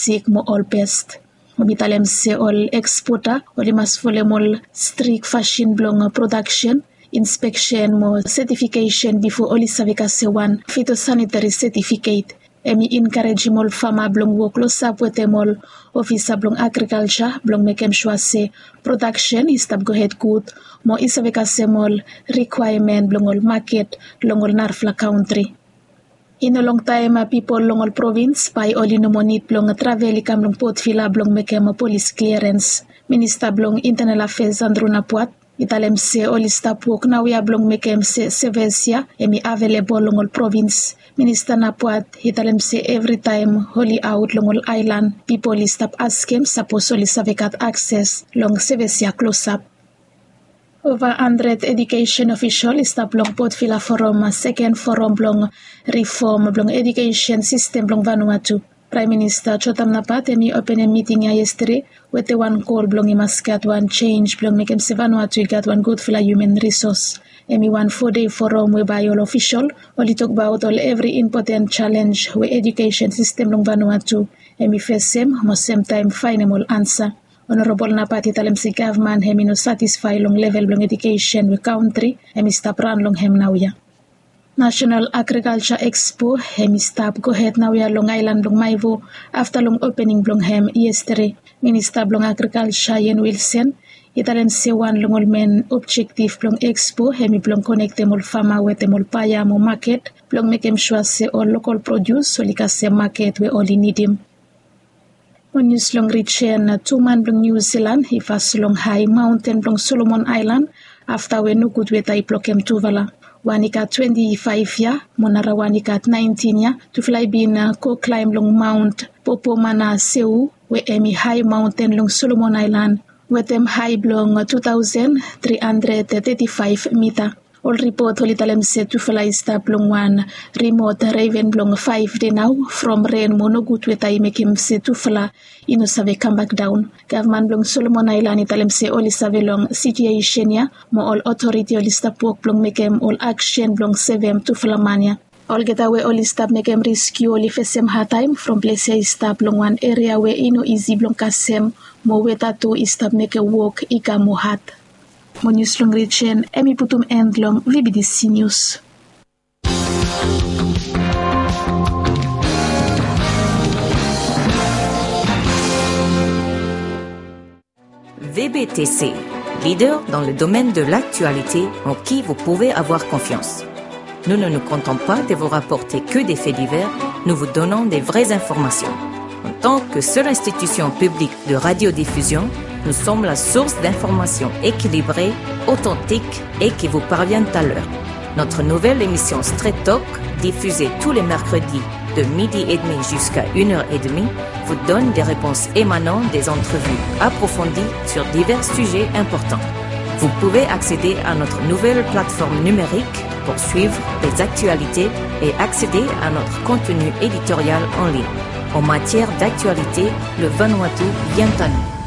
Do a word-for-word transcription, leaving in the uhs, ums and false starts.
plastik mo ol pest. Mo mi talem se ol ekspota oli mas folem ol strik fasin blong prodaksen, inspeksen mo setifikesen bifo oli save kasem wan fitosanitari setifiket. Hemi enkarejim ol fama blong wok klosap wetem ol ofisa blong agrikalja blong mekem sua se prodaksen i stap gohed gud mo i save kasem ol rikwaemen blong ol maket long ol narafala kantri. I no longtaem pipol long ol provins bae oli no moa nid blong travel i kam long Port Vila blong mekem polis kliarens. Minista blong Intenal Afeas Andrew Napuat i talem se oli stap wok naoia blong mekem se seves ya hemi avelebol long ol provins. Minista Napuat i talem se evritaem oli aot long ol aelan pipol i stap askem sapos oli save gat akses long seves ya klosap. Ova handred edukesen ofisol i stap long Port Vila Forum seken forum blong rifom blong edukesen sistem blong Vanuatu. Praem Minista Jotam Napat hemi openem miting ya yestade wetem wan gol blong i mas gat wan jenj blong mekem se Vanuatu i gat wan gudfala hiuman risos. Hemi wan fo dei forum we bae ol ofisol oli tokbaot ol evri impoten jalenj we edukesen sistem blong Vanuatu hemi fesem mo semtaem faenem ol ansa. Onorabol Napat i talem se gavman hemi no satisfae long level blong edukesen we kantri hemi stap ran long hem naoia. Nasenal Agrikalja Ekspo hemi stap gohed naoia long aelan blong Maewo afta long opening blong hem yestade. Minista blong Agrikalja Ian Wilson i talem se wan long ol men objektif blong ekspo hemi blong konektem ol fama wetem ol baea mo maket blong mekem sua se ol lokol produs oli kasem maket we oli nidim. Mo nius long rijen, tu man blong Niu Zilan i fas long hae maonten blong Solomon Aelan afta we nogud weta i blokem tufala. Wan i gat twenti faef yia mo narawan i gat naentin yia, tufala i bin go klaem long Maon Popomanasewu we hemi hae maonten long Solomon Aelan wetem hae blong tu taosen tri handred teti faef mita. Ol ripot oli talem se tufala i stap long wan rimot reven blong faef dei nao from ren mo nogud weta i mekem se tufala i no save kambak daon. Gavman blong Solomon Aelan i talem se oli save long sitiesen ya mo ol otoriti oli stap wok blong mekem ol aksen blong sevem tufala man ya. Olgeta we oli stap mekem reskiu oli fesem hadtaem from ples ya i stap long wan eria we i no isi blong kasem mo weta tu i stap mekem wok i kam moa had. Mo nius long rijen hemi putum en long V B T C Nius. V B T C, leader dans le domaine de l'actualité en qui vous pouvez avoir confiance. Nous ne nous contentons pas de vous rapporter que des faits divers, nous vous donnons des vraies informations. En tant que seule institution publique de radiodiffusion, nous sommes la source d'informations équilibrées, authentiques et qui vous parviennent à l'heure. Notre nouvelle émission Straight Talk, diffusée tous les mercredis de midi et demi jusqu'à une heure et demie, vous donne des réponses émanant des entrevues approfondies sur divers sujets importants. Vous pouvez accéder à notre nouvelle plateforme numérique pour suivre les actualités et accéder à notre contenu éditorial en ligne. En matière d'actualité, le Vanuatu vient à nous.